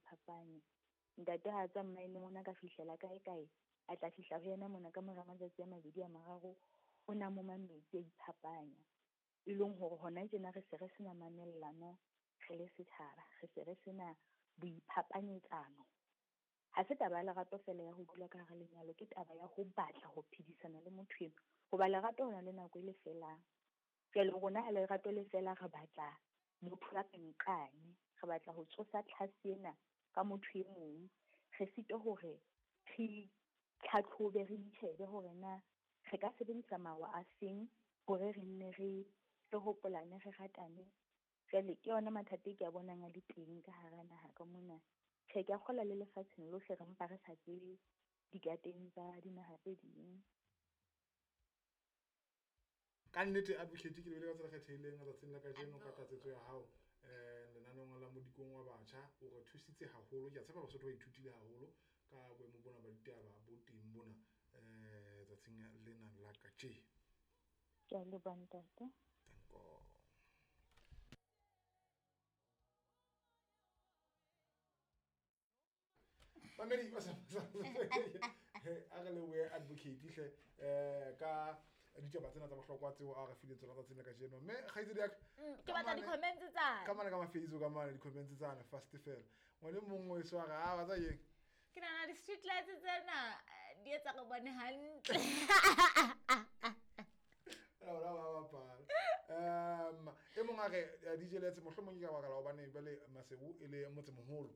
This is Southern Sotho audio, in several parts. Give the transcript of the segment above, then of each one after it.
iphapanya. Ntate ha a tswa mmaeneng o na ka fihlela kae kae, a tla fihla ho yena mona ka mora matsatsi a mabedi a mararo, o na moma metsi a iphapanya. E leng hore hona tjena re se re sena mamellano re le setjhaba, re se re sena boiphapanyetsano. Ha se taba ya lerato fela ya ho dula ka hara lenyalo, ke taba ya ho batla ho phedisana le motho eno. Hoba lerato ho na le nako e le felang. Jwale rona ha lerato le fela re batla motho a re nqane, re batla ho tsosa tlhase ena ka motho e mong. Re sitwa hore re itlhatlhobe, re itjhebe hore na re ka sebedisa mawa a feng hore re nne re hopolane, re ratane. Jwale ke yona mathata e ke a bonang a le teng ka hara naha ka mona. Tjhe, ke a kgolwa le lefatsheng lohle re mpa re sa tsebe dikateng tsa dinaha tse ding. Ka nnete advocate ke lebile ka tsela kgethehileng letsatsing la kajeno ka tlatsetso ya hao lenaneong la modikong wa batjha. O re thusitse haholo, ke a tshepa Basotho ba ithutile haholo ka boemo bona ba ditaba bo teng mona tsatsing lena la kajeno. Ke a leboha ntate. Danko. Mamedi ba sa a re lebohe advocate hle ka ditaba tsena tsa bohlokwa tseo a re fileng tsona tsatsing la kajeno. Mme kgaitsedi ya ka, Ke batla di-comments tsane. Ka mane ka ma-Facebook ka mane di-comments tsane fast fela. Ngwane mong o eso a re, "Ah, ba tsa eng?" Ke nahana di-street lights tsena di etsa re bone hantle. Ba bapala. E mong a re DJ Letse mohlomong ke ka baka la hobane jwale Maseru e le motsemoholo.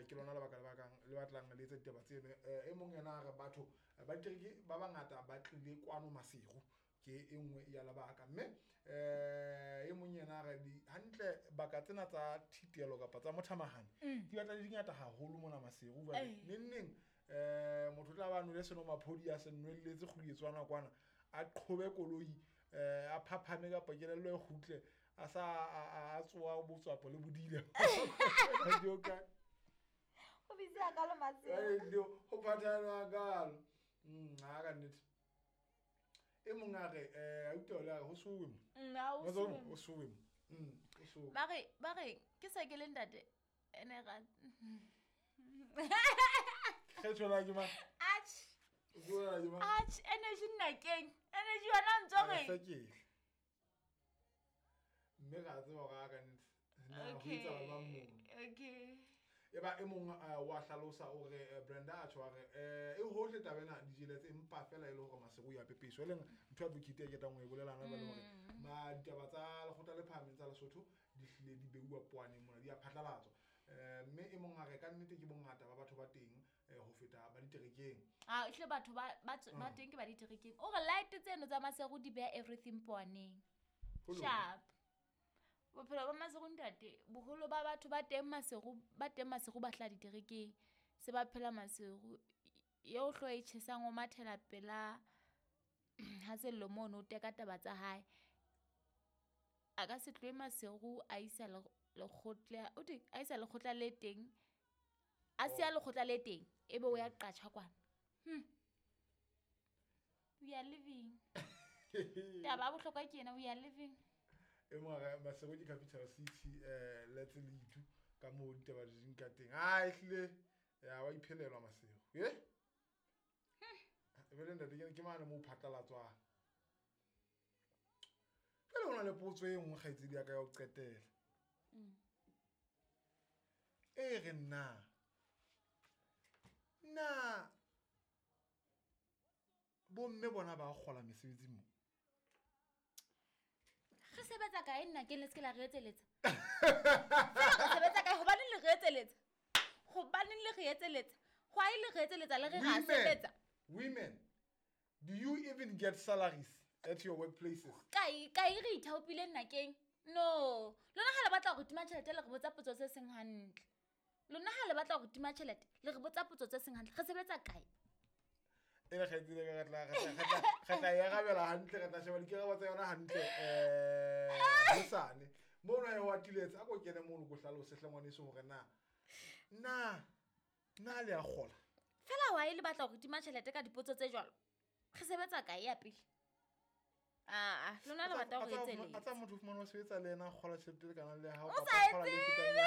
Ke lona lebaka le bakang le batlang le etsa ditaba tseno. E mong yena a re batho ba ditereke ba bangata ba tlile kwano Maseru, ke e nngwe ya lebaka. Mme e mong yena a re hantle baka tsena tsa thitelo kapa tsa mothamahane di batla di ngata haholo mona Maseru. Jwale neng neng motho o tla ba nwele senomaphodi a se nwelletse kgwedi kwana, a qhobe koloi a phaphame kapa kelello e kgutle a sa a tsoa botswapo le bodile. Ho bitse a kalo Maseru. Ho phathana kalo. Ha ka nnete. E mong a re a utlwa le a re ho sowe mo. Ha ho sowe. Ho sowe mo. Ho sowe. Ba re ke se ke le ntate ene ra. Kgetho la ke mang? Atjhe. Bua ke mang? Atjhe, energy nna keng? Energy yona ntso re. Hlakile. Mme ra tseba hore a ka nnete. Na ho etsahala jwang mono? Okay. E ba e mong wa hlalosa o re Brenda a tjho a re e hohle taba ena DJ Letse empa fela e le hore Maseru ya pepeso e leng ntho ya advocate e ketang ho e bolela hona jwale hore ma ditaba tsa lekgotla le phahameng tsa Lesotho di hlile di beuwa poaneng mona di a phatlalatswa. Mme e mong a re ka nnete ke bongata ba batho ba teng ho feta ba diterekeng. Ah, ehlile batho ba teng ke ba diterekeng. O re light tseno tsa Maseru di beha everything poaneng. Sharp. Bophelo ba Maseru ntate, boholo ba batho ba teng Maseru, ba teng Maseru ba hlaha diterekeng. Se ba phela Maseru. Eo hlooho e tjhesang o mathela pela ha Sello mono o teka taba tsa hae. A ka se tlohe Maseru a isa lekgotla, o thwe a isa lekgotla le teng. A siya lekgotla le teng, ebe o ya qatjha kwana. We are living. Taba ya bohlokwa ke ena, we are living. E mong a re Maseru ke capital city Letse le Itu ka moo ditaba di ding ka teng. Ah, ehlile ya wa iphelelwa Maseru. Eh? Ebile ntate ke mane moo phatlalatswang. Jwale ho na le potso e nngwe kgaitsedi ya ka ya ho qetela. E re na bomme bona ba kgola mesebetsing mo? Re sebetsa kae nna ke le se ke la re etseletsa? Re sebetsa kae? Hobaneng le re etseletsa? Hobaneng le re etseletsa? Why le re etseletsa le re ra sebetsa? Women, do you even get salaries at your workplaces? Kae kae re ithaopile nna keng? No, lona ha le batla hore tima tjhelete le re botsa potso tse seng hantle. Lona ha le batla hore tima tjhelete le re botsa potso tse seng hantle. Re sebetsa kae? E le kgaitsedi ka re tla e arabela hantle, re tla sheba dikarabo tsa yona hantle hosane. Mono ya ho atiletse a ko kene mono ko hlalose hle ngwaneso hore na le a kgola. Fela why le batla hore tima tjhelete ka dipotso tse jwalo? Re sebetsa kae ya pele? Ah, lona le batla hore etseletsa. A tsa motho fumana o sebetsa le yena a kgola tjhelete le kana le hao O kapa sa kgola le fetang ya.